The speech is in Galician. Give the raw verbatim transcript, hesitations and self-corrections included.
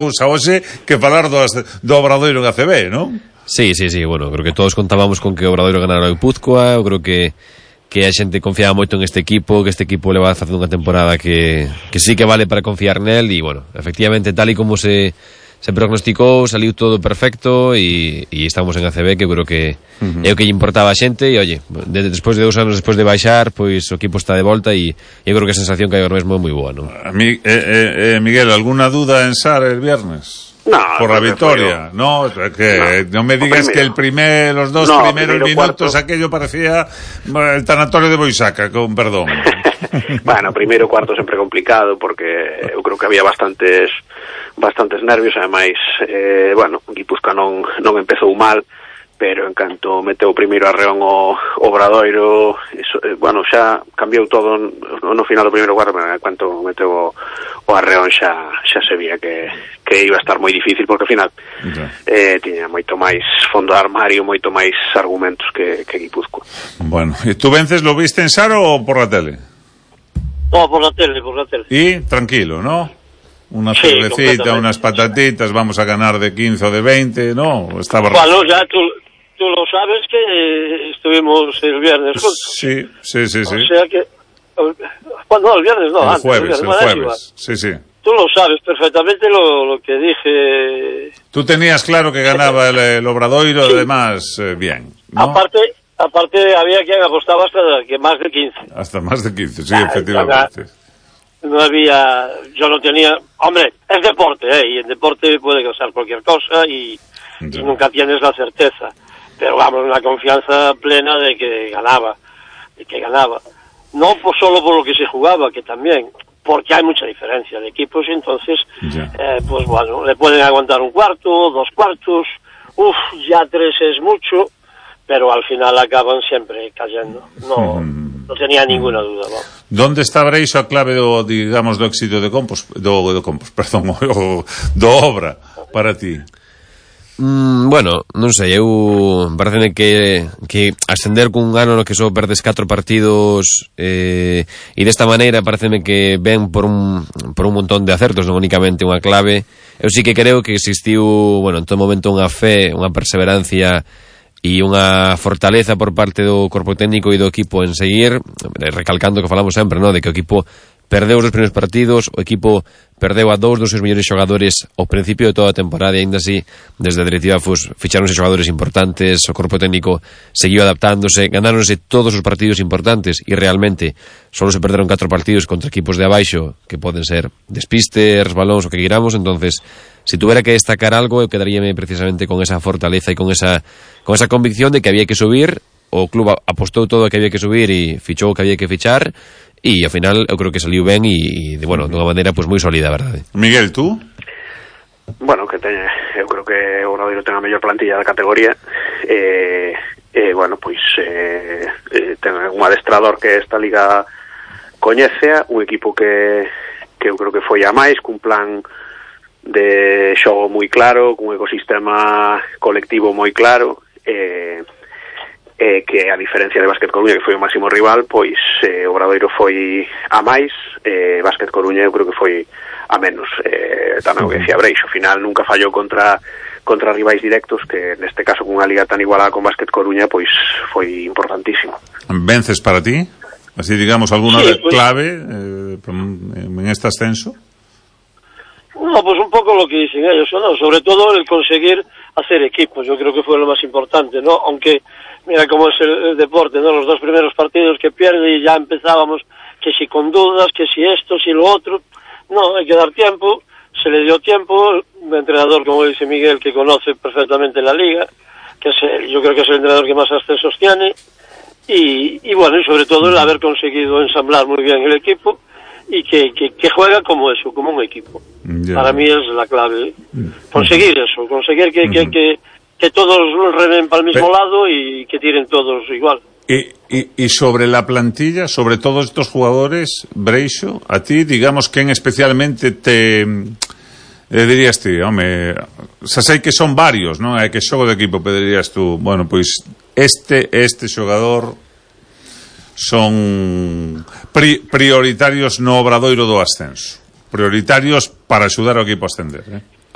Xa hoxe que falar do, do Obradoiro en A C B, non? Sí, sí, sí, bueno, creo que todos contábamos con que o Obradoiro ganara o Guipúzcoa. Eu creo que que a xente confiaba moito en este equipo, que este equipo le va facendo unha temporada que, que sí que vale para confiar nel, e bueno, efectivamente, tal e como se se prognosticou, saliu todo perfecto, e, e estamos en A C B, que eu creo que uh-huh. é o que lle importaba a xente. E oye, de, despois de dous anos despois de baixar, pois o equipo está de volta, e eu creo que a sensación que hai ahora mesmo é moi boa, non? A mí, eh, eh, Miguel, alguna duda en Sar el viernes? No, por la victoria, no, que no, no me digas que el primer, los dos no, primeros minutos cuarto. Aquello parecía el tanatorio de Boisaca, con perdón. Bueno, primeiro cuarto sempre complicado, porque eu creo que había bastantes bastantes nervios, ademais, eh, bueno, Guipúzcoa non, non empezou mal, pero en canto meteu primeiro arreón o Obradoiro, eso, eh, bueno, xa cambiou todo no, no final do primeiro cuarto, pero en canto meteu o, o arreón xa, xa se vía que, que iba a estar moi difícil, porque ao final okay. eh, tiña moito máis fondo de armario, moito máis argumentos que, que Guipúzcoa. Bueno, ¿y tú vences, lo viste en Saro o por la tele? No, por la tele, por la tele. Y tranquilo, ¿no? Una sí, cervecita, unas patatitas, vamos a ganar de quince o de veinte, ¿no? Estaba... Bueno, ya tú... Tú lo sabes que estuvimos el viernes juntos. Sí, sí, sí, sí. O sea que... Bueno, no, el viernes no, el antes. Jueves, el jueves, el jueves. Sí, sí. Tú lo sabes perfectamente lo, lo que dije... Tú tenías claro que ganaba el, el Obradoiro, sí. Además, eh, bien, ¿no? Aparte, aparte había quien apostaba hasta que más de quince. Hasta más de quince, sí, ah, efectivamente. No había... Yo no tenía... Hombre, es deporte, ¿eh? Y en deporte puede causar cualquier cosa y, y nunca tienes la certeza. Pero vamos, una confianza plena de que ganaba, de que ganaba. No por, solo por lo que se jugaba, que también, porque hay mucha diferencia de equipos, y entonces, eh, pues bueno, le pueden aguantar un cuarto, dos cuartos, uff, ya tres es mucho, pero al final acaban siempre cayendo. No, mm. no tenía ninguna duda. ¿No? ¿Dónde está Breixo a clave do, digamos, do éxito de Compos, do, do Compos, perdón, do, do Obra para ti? Mm, bueno, non sei, eu pareceme que, que ascender cun ano no que só perdes catro partidos eh, e desta maneira pareceme que ven por un, por un montón de acertos, non únicamente unha clave. Eu sí que creo que existiu, bueno, en todo momento unha fe, unha perseverancia e unha fortaleza por parte do corpo técnico e do equipo en seguir, recalcando que falamos sempre, ¿no? De que o equipo perdeu os dos primeiros partidos, o equipo perdeu a dous dos seus mellores xogadores ao principio de toda a temporada, e ainda así, desde a directiva pues, ficharonse xogadores importantes, o corpo técnico seguiu adaptándose, ganáronse todos os partidos importantes, e realmente solo se perderon catro partidos contra equipos de abaixo, que poden ser despistes, balóns, o que queramos. Entonces, si tuviera que destacar algo, eu quedaríame precisamente con esa fortaleza e con esa, con esa convicción de que había que subir. O club apostou todo a que había que subir e fichou o que había que fichar, e ao final eu creo que saliu ben e, de, bueno, de unha maneira pues, moi sólida, verdade. Miguel, tú? Bueno, que teña, eu creo que o Obradoiro ten a mellor plantilla da categoría, e, eh, eh, bueno, pois eh, eh, ten un adestrador que esta liga coñece, un equipo que, que eu creo que foi a máis, cun plan de xogo moi claro, cun ecosistema colectivo moi claro, e eh, eh, que a diferencia de Básquet Coruña, que foi o máximo rival, pois eh, o Obradoiro foi a máis, eh, Básquet Coruña eu creo que foi a menos. Eh, tamén o que decía Breixo, ao final nunca fallou contra contra rivais directos, que neste caso cunha liga tan igualada con Básquet Coruña, pois foi importantísimo. Vences para ti? Así digamos, alguna sí, pues, clave eh, en este ascenso? No, pues un poco lo que dicen ellos, ¿no? Sobre todo el conseguir hacer equipos, yo creo que fue lo más importante, ¿no? Aunque mira cómo es el, el deporte, ¿no? Los dos primeros partidos que pierde y ya empezábamos que si con dudas, que si esto, si lo otro. No, hay que dar tiempo, se le dio tiempo, un entrenador, como dice Miguel, que conoce perfectamente la liga, que es el, yo creo que es el entrenador que más ascensos tiene, y, y bueno, y sobre todo el haber conseguido ensamblar muy bien el equipo, y que, que, que juega como eso, como un equipo. Yeah. Para mí es la clave. Conseguir eso, conseguir que, que, que, que todos remen para el mismo Pero, lado y que tiren todos igual. Y, y, y sobre la plantilla, sobre todos estos jugadores, Breixo, a ti, digamos, ¿quién especialmente te... Eh, dirías ti, home, xa sei que son varios, non? É que xogo de equipo, pero dirías tú, bueno, pois este, este xogador son pri, prioritarios no Obradoiro do ascenso, prioritarios para axudar ao equipo a ascender, eh?